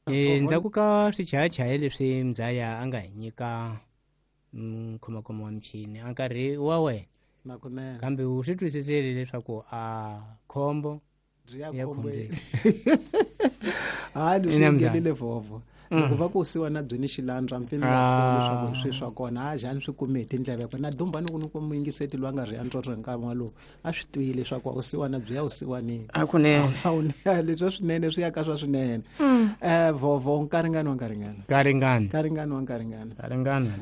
Endzhaku ka swichayachayi leswi Mzaya a nga hi nyika mukhomakhoma wa michini a nkarhi wa wena nakunene kambe u swi twisisile leswaku a khombo byi ya ya khombweni khombeni. Hayi leswi Ina, Mzaya. nghenile vhovho loko va ku siwana byi ni xilandza mpfini Ah. leswaku hi swi swa kona a jani swi kume hi tindleve kona na dumba ni ku ni ku muyingiseti loyi a nga ri ya ntsotso hi nkarhi walowo a swi twile leswaku a wu siwana byi ya wusiwanini hakunene leswa swinene swi ya ka swa swinene vhovho nkaringani wa nkaringana karingana nkaringani wa nkaringana karingana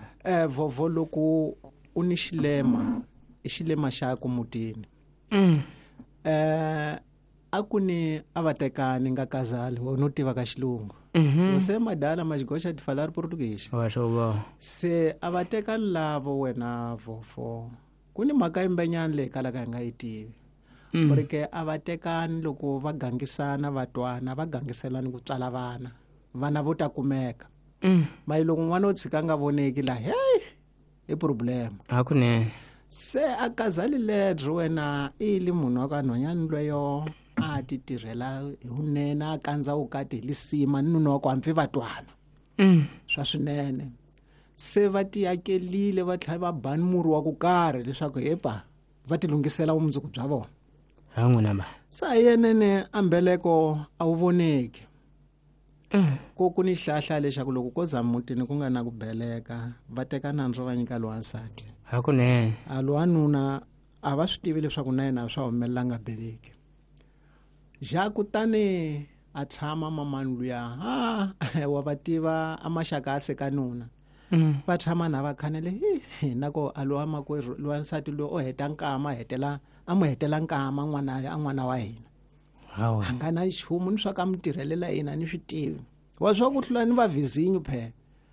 vhovho loko u ni xilema i xilema xaku mutini a ku ni a va tekani nga kazali wena u tiva ka xilungu você madala mas gosta de falar português wa swo va se a va tekani lavo wena vhovho ku ni mhaka yimbenyana leyi kalaka hi nga yi tivi porque a va tekani loko va gangisana va twana va gangiselani ku tswala vana vana vo ta kumeka mayi loko n'wana o tshika a nga voneki la hey i problem hakunene se a kazali ledro wena i li munhu wa ka nhwanyana lweyo a ti tirhela hi vunene a kandza vukati hi lisima ni nuna wa ku hampfi va twana swa swinene se va tiakelile va tlhela va bani murhi wa ku karhi leswaku hepa va ti lunghisela vumundzuku bya vona ha n'wina ba sa yenene a mbeleko a wu voneki ku ku ni hlahla lexaku loko ko za mutini ku nga na ku beleka va teka nandzu va nyika lowansati hakunene a lowanuna a va swi tivi leswaku na yena swa humelela nga beleki ja kutani a tshama mamani luya ha wa va tiva a maxaka a seka nuna va tshama na va khanele hi na ko a lowa makwerhu lowa nsati loyi o heta nkama a hetela a mu hetela nkama n'wana a n'wana wa hina hawa a nga na nchumu ni swa ka mi tirhelela yena ni swi tivi wa swa ku hlula ni va vizinyo phela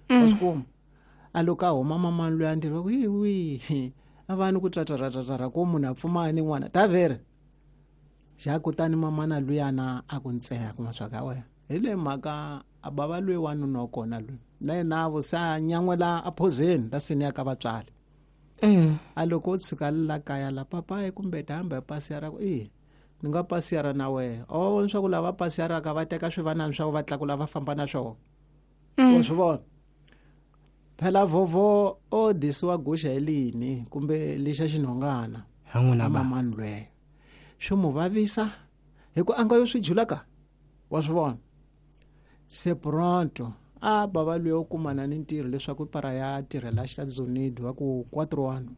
wa swi kuma a loko a huma mamani loyi a ntirho va ku hi wihi a va ni ku trataratatara ko munhu a pfumaya ni n'wana ta vere xa kutani mamana luyana a ku ntseha kuma swa ka wena hi le mhaka a bava loyi wanuna wa kona loyi na yena vo se a nyan'wela aphozeni la seni ya ka vatswari a loko o tshuka la kaya la papayi kumbe ta hamba hi pasi ya ra ku i ni nga pasiyara na wehe a wa vona swa ku lava pasiyaraka va teka swivanani swa ku va tlakula va famba na swona wa swi vona phela vhovho o disiwa guxa hi lini kumbe lexa xinhongana ha n'wina ba mamani lweyo swi mu vavisa hi ku a nga yo swi jula ka wa swi vona se pronto a bava luya u kumana ni ntirho leswaku para ya tirhela Estados Unidos wa ku 4 ano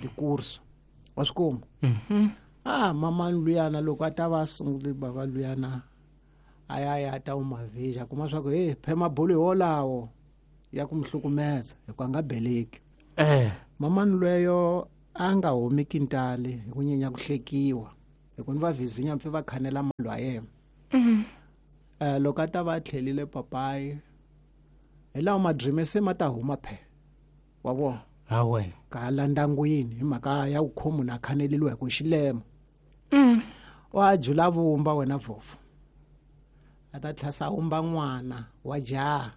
tikurso wa swi kuma a mamani luyana loko a ta va a sungule bava luyana a ya ya ta umavhija kuma swa ku he phema bolo hi wolawo ya ku mi hlukumeza hi ku a nga beleki mamani lweyo a nga humi kintali hi ku nyenya ku hlekiwa hi ku ni va vizinya mpfi va khanela mali wa yena loko a ta va a tlhelile papayi hi lawa madrime se ma ta huma phe wa vona ha wena ka la ndyangwini hi mhaka ya ku kho munhu a khaneleliwa hi ku xilema wa jula vumba wena vhovho a ta tlhasa humba n'wana wa jaha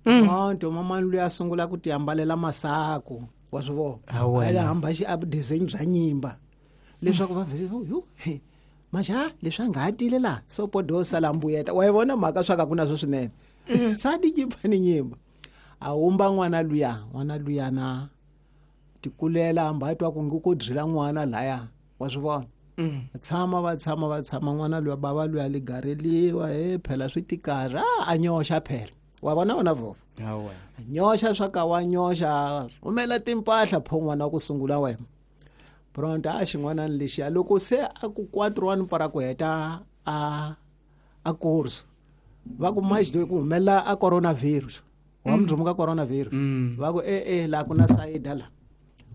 onto mamani luya a sungula ku ti ambalela masaku wa swi vona Ha wena. a hamba xi design bya nyimba leswaku va vhese yu he, majaha leswi a nga ha tile laha so podo sala mbuyeta wa yi vona mhaka swa ka ku na swo swinene sadi nyimba ni nyimba a humba n'wana luya n'wana luya na tikulela hamba a twa ku ngi ku dyila n'wana laya wa swi vona tshama va tshama va tshama n'wana luya bava luya ligareliwa he phela swi tikarhi a a nyoxa phela wa vona wena vhovho ha wena nyoxa swa ka wa nyoxa rhumela timpahla pho n'wana wa ku sungula wena pronto a xin'wanani lexiya loko se a ku 4 one para ku heta a a course va ku maxdo ku humelela a coronavirus wa mudzumu ka coronavirus va ku e e laha ku na sayida la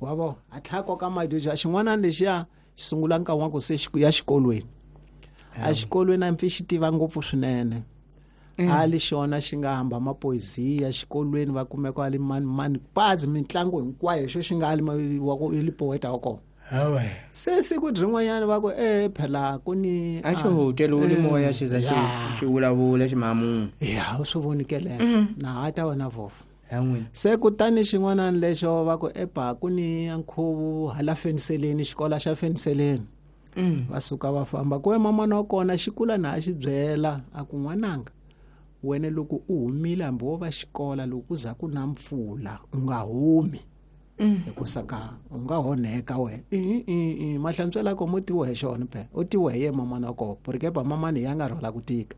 wa vo a tlhela koka madoja xin'wanani lexiya xi sungula nkarhi wa ku se xi ya xikolweni a xikolweni a mpfi xi tiva ngopfu swinene a li xona xi nga hamba mapoesia xikolweni va kumeka a li mani mani pazi mitlangu hinkwayo xo xi nga ali wa ku li poeta wa kona se siku rin'wanyana va ku e phela ku ni a xi hoteliwile moya xi za xi xi vulavula ximamunhu ya u swi vonikele na ha ta wena vhovho ha n'wina se kutani xin'wanani lexo va ku epa ku ni nkhuvo hala feniseleni xikolo xa feniseleni Va suka va famba ku mamana wa kona xikula na a xi byela a ku n'wananga wena loko u humile hambi wo va xikola loko ku za ku na mpfula u nga humi hikusa ka u nga honeka wena mahlantswela ko mo tiwa hi xona phela u tiwa hi ye mamana wa kona porque mamani ya nga rhwala ku tika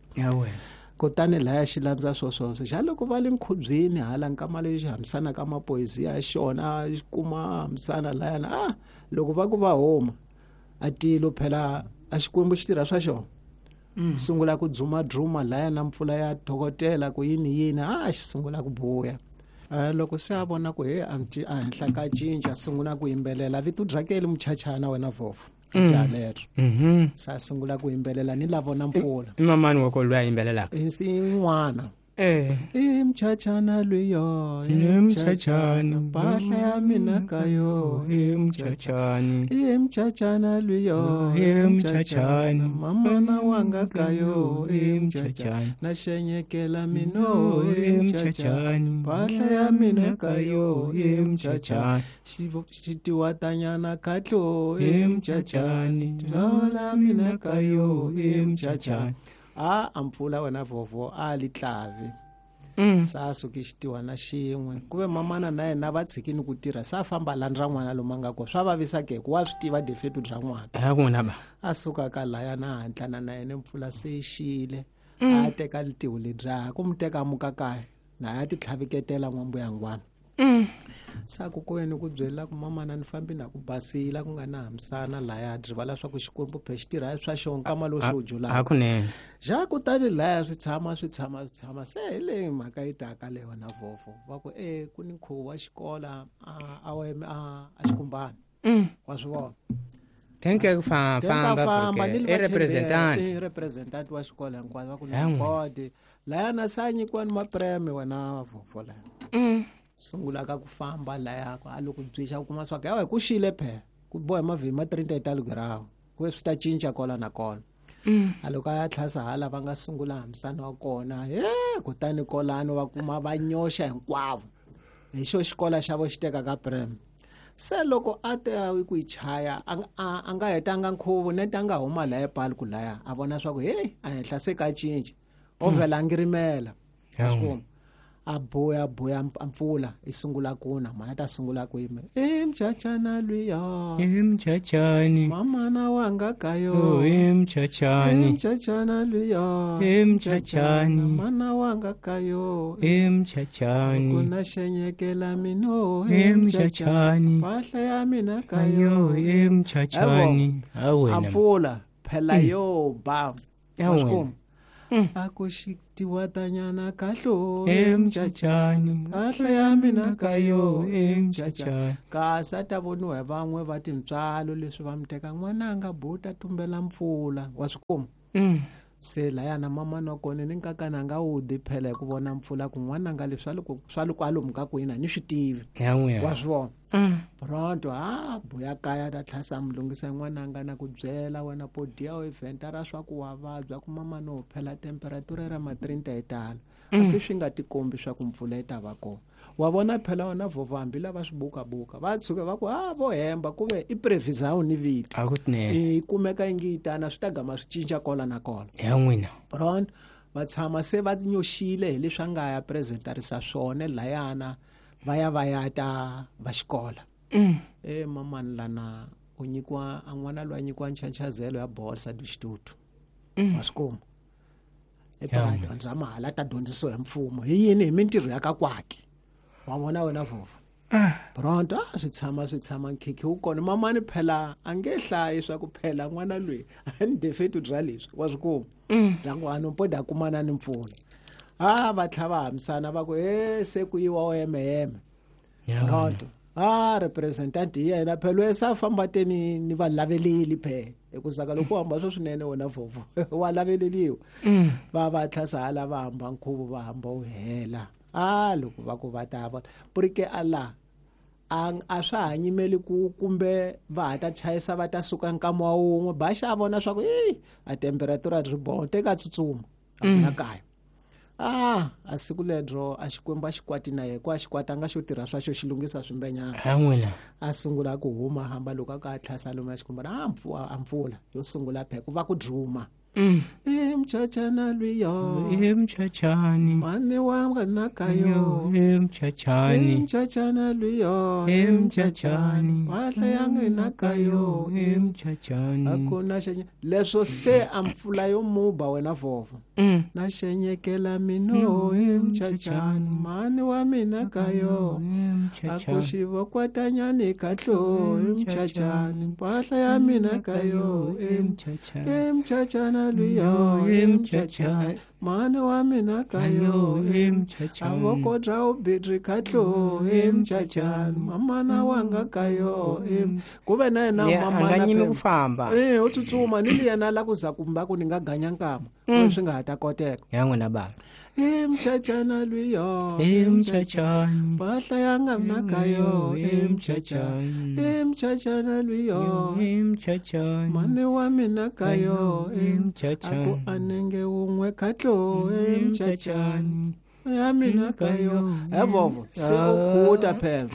kutani laya xi landza swoswoswo xa loko va le nkhubyeni hala nkama leyi xi hambisana ka mapoyisi ya xona xi kuma hambisana layana a loko va ku va huma a tilo phela a xikwembu xi tirha swa xona sungula ku dzumadzuma laya na mpfula ya thokotela ku yini yini a xi sungula ku buya loko se a vona ku he a henhla ka cinca sungula ku yimbelela vito byakeli muchachana wena vhofo jaha lero se a sungula ku yimbelela ni la vona mpfula i mamani wa ko loyi a yimbelelaka i n'wana i mchachana lwiyo i mchachana mpahla ya mina ka yo i mchachani i mchachana lwiyo i mchachani mamana wanga ka yo i mchachani na xenyekela mino i mchachani mpahla ya mina ka yo i mchachani xitiwatanyana katlo i mchachani lola mina ka yo i mchachani a mpfula wena vhovo a li tlavi sa suki xitiwana xin'we ku ve mamana na yena va tshikini ku tirha sa famba landza n'wana lomu a nga kona swa vavisa ke ku wa swi tiva defetu bya n'wana a suka ka laya na hatlana na yena mpfula se yi xile a teka litihu ledya ku mu teka muka kaya na ya ti tlhaviketela n'wambuyangwana sa ku kweni ku byela ku mamana ni fambi na ku basila ku nga na hambisana laya rivala swa ku xikwembu phe xi tirha swa xona nkama lowu xi wu julaka hakunene ja kutani laya swi tshama swi tshama swi tshama se hi leyi mhaka yi taka leyi wena vhofo va ku e ku ni nkhuvo wa xikola a xikumbani wa swi vona tenke ku famba i representant i representant wa xikolo hinkwaswo va ku ni board laya na sa nyikiwa ni mapreme wena vhofo laya sungula ka ku famba laya a loko byixa u kuma swa ku yawe ku xile phela ku boha mavhini ma 30 talugirawu ku swi ta cinca kola na kona a loko a ya tlhasa hala va nga sungula hambisana wa kona he kutani kolano va kuma va nyoxa hinkwavo hi xo xikola xa vo xi teka ka prem se loko a te ku yi chaya a nga hetanga nkhuvo nete a nga huma laya epali ku laya a vona swa ku heyi a henhla se ka cinca o vhela a ngirimela a a buya buya mpfula i sungula kuna mhana ta sungula ku yima i mchachana lwiya i mchachani mamana wanga ka yo i mchachani i mchachana lwiya i mchachani mana wanga ka yo i mchachani kuna xenyekela mino i mchachani mpahla ya mina ka yo i mchachani a mpfula phela yo ba wa a ku xitiwatanyana kahlo emchachani kahle ya mina ka yo emchachani kasi a ta voniwa hi van'we va tintswalo leswi va mi teka n'wananga buta tumbela mpfula wa swi kuma se layana mamana wa kona ni nkakana a nga wu di phela hi ku vona mpfula ku n'wananga leswi swa loko alomu ka kwini a ni swi tivi wa swi vona pronto a buya kaya ta tlhasa mi lunghisa n'wananga na ku byela wena podiya o evhenta ra swa ku wa vabya ku mama no phela temperatura ra ma 30 yi tala hambi swi nga tikombi swa ku mpfula yi ta va kona wa vona phela wena vhova hambi lava swi bukabuka va tshuka va ku a vo hemba ku ve i prevision ni vito yi kumeka yi ngi yi tana swi ta gama swi cinca kola na kola ya n'wina pronto va tshama se va nyoxile hi leswi a nga ya presentarisa swona layana va ya va ya ta va xikola e mamani lana u nyikiwa a n'wana loyi a nyikiwa nchancazelo ya bolsa du xitutu wa swi kuma edyondza mahala ta dyondzisiwa hi mfumo hi yini hi mintirho ya ka kwaki wa vona wena vhova pronto a swi tshama swi tshama nkhikhi wu kona mamani phela a nge hlayi swa ku phela n'wana loyi a ni defetu bya leswi wa swi kuma bya ku a poda kumana ni mpfula a va tlha va hambisana va ku e se ku yiwa o yemeyeme pronto a representant hi yena phela loyi sa famba te ni ni va laveleli phela hikusa loko u hamba swo swinene wena vhovo wa laveleliwa va va tlhasa hala va hamba nkhuvo va hamba wu hela a loko va ku va ta vona purike a laha a swa ha nyimeli ku kumbe va ha ta chayisa va ta suka nkama wa wun'we ba xa vona swa ku i a temperatura ri boho teka tsutsuma a ku na kaya. A siku ledro a Xikwembu a xi kwati na yena, ku a xi kwatanga xo tirha swa xo xi lunghisa swimbenyana. A sungula ku huma hamba loko a ka tlhasa lomu ya Xikwembu a mpfula yo sungula phe ku va ku duma. Emchachana luyo emchachani mane wa nakayo emchachani emchachana luyo emchachani wahla yange nakayo emchachani akuna xenye leswo se ampfula yo muba wena vovo na xenyekela mino emchachani mane wa mina kayo akuxivo kwatanyani katlo emchachani wahla ya mina kayo emchachani emchachana luyo emchachani mane wa mina kayo emchachani avokodra ubidri katlo emchachani mamana wanga kayo kuve na yena mamana anga nyimi ku famba u tsutsuma ni yena la ku za kumba ku ni nga ganya nkama swi nga ha ta koteka ya n'wina baba emchachana luyo emchachani mpahla ya nga mna kayo emchachani emchachana luyo emchachani mane wa mina kayo emchachani aku anenge wun'we katlo emchachani ya mina kayo evovo se u khuta phela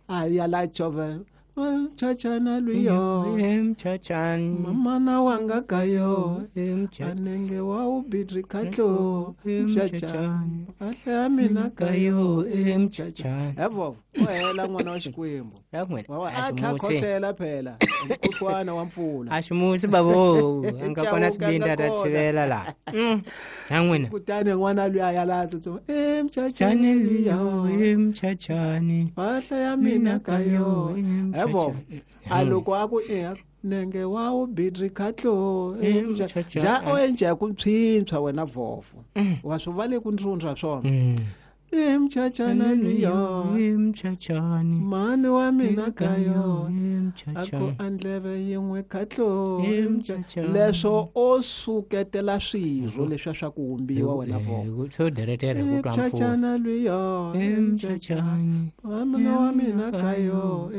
a ya la chovela mchachana luyo emchachani mamana wanga kayo emchachani anenge wa ubidri katlo emchachani ahle ya mina kayo emchachani evovo wa hela n'wana wa Xikwembu a tlha khohlela phela mkhuhlwana wa mpfula a ximusi babo a nga kona sibindi a ta tshivela laha ya n'wina kutani n'wana luya a ya la tsutsuma emchachani luyo emchachani mpahla ya mina kayo evovo a loko a ku nenge wa ubidri katlo ja o endla ku ntshwintshwa wena vovo wa swi va le ku ndzundza swona emchachana luyo emchachani mane wa mina kayo emchachani aku andleve yin'we katlo emchachani leswo o suketela swirho leswiya swa ku humbiwa wena vovo swo deretera ku twa mpfula emchachana luyo emchachani mane wa mina kayo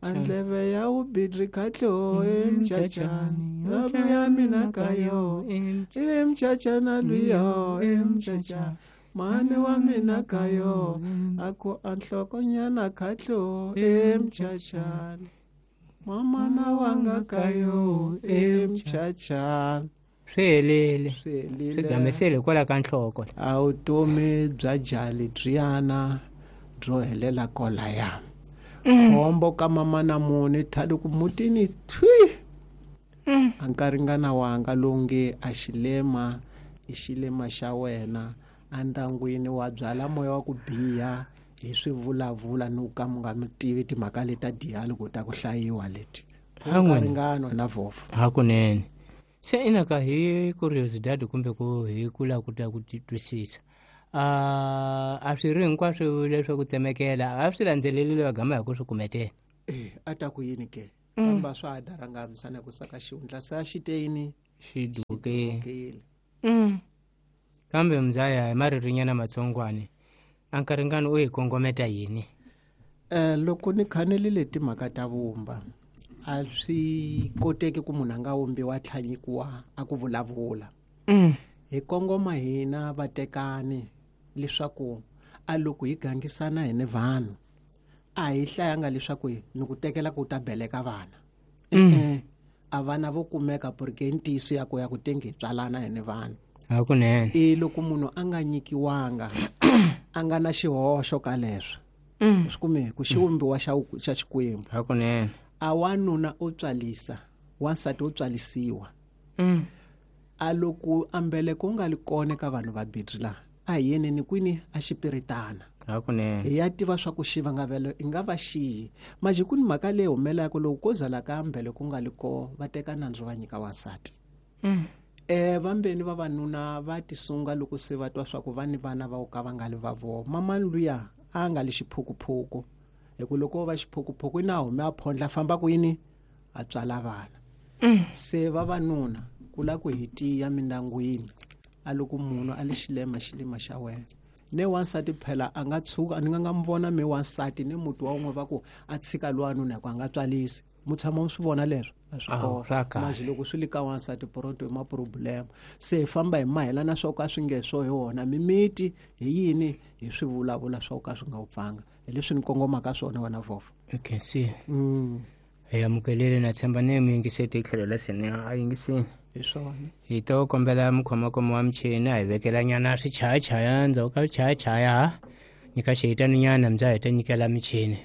andleve ya ubidri katlo emchachani ya mina kayo emchachana luyo emchachani mane wa mina kayo aku anhlokonyana katlo emchachani mamana wanga kayo emchachani swi helile swi gamesele kwala ka nhloko a vutomi bya jali byiyana byo helela kolaya khombo ka mamana muni thali ku mutini thwi a nkaringana wanga longe a xilema i xilema xa wena andangwini wa byala moya wa ku biha hi swivulavula ni ka mu nga mi tivi timhaka leta diya loko ta ku hlayiwa leti ringano na vovo hakunene se inaka hi curiosity kumbe ku hi kula ku ta ku twisisa a swi ri hinkwaswo leswaku tsemekela a swi landzelelile va gama hi ku swi kumetela a ta ku yini ke kamba swa ha daranga misana ku saka xihundla sa xiteyini xi dukile kambe mzaya hi maririnyana matsongwani a nkaringano u hi kongometa yini loko ni khanelile timhaka ta vumba a swi koteki ku munhu a nga wumbiwa tlhanyikiwa a ku vulavula hi kongoma hina vatekani leswaku a loko hi gangisana hi ni vanhu a hi hlayanga leswaku ni ku tekela ku ta beleka vana a vana vo kumeka porque ntiyiso ya ku ya ku tenge tswalana hi ni vanhu hakunene i loko munhu a nga nyikiwanga a nga na xihoxo ka leswo swi kume ku xiwumbiwa xa Xikwembu hakunene a wanuna u tswalisa wansati u tswalisiwa a loko ambeleko nga li kona ka vanhu va bidri la a hi yeneni kwini a xipiritana hakunene hi ya tiva swa ku xivangavelo i nga va xiyi maji ku ni mhaka leyi humelaka loko ko zala ka ambeleko nga li ko va teka nandzu va nyika wansati vambeni vavanuna va tisunga loko se va twa swa ku va ni vana va ka va nga li va vona mamani luya a nga li xiphukuphuku hi ku loko va xiphukuphuku i na hume a phondla famba kwini a tswala vana se vavanuna ku la ku hi tiya mindangwini a loko munhu a li xilema xilema xa wena ne wansati phela a nga tshuka ni nga nga mi vona mi wansati ni muti wa wun'we va ku a tshika lwanuna hi ku a nga tswalisi Mu tshama mu swi vona leswo a swi Awu, swa kona kahle. Mazi loko swi le ka wansati pronto hi maproblema se hi famba hi mahelana swa ku a swi nge swo hi wona mimiti hi yini hi swi vulavula swa ku ka swi nga wu pfanga hi leswi ni kongomaka swona wena vova. Okay, se hi amukelile, na tshemba ni mi yingiseti hi tlhelo la seni a yingisini. Hi swona. Hi to kombela mukhomakomo wa michini a hi vekela nyana swichayachaya ndzhaku ka swichayachaya ha nyika xihitani nyana mbya hi ta nyikela michini.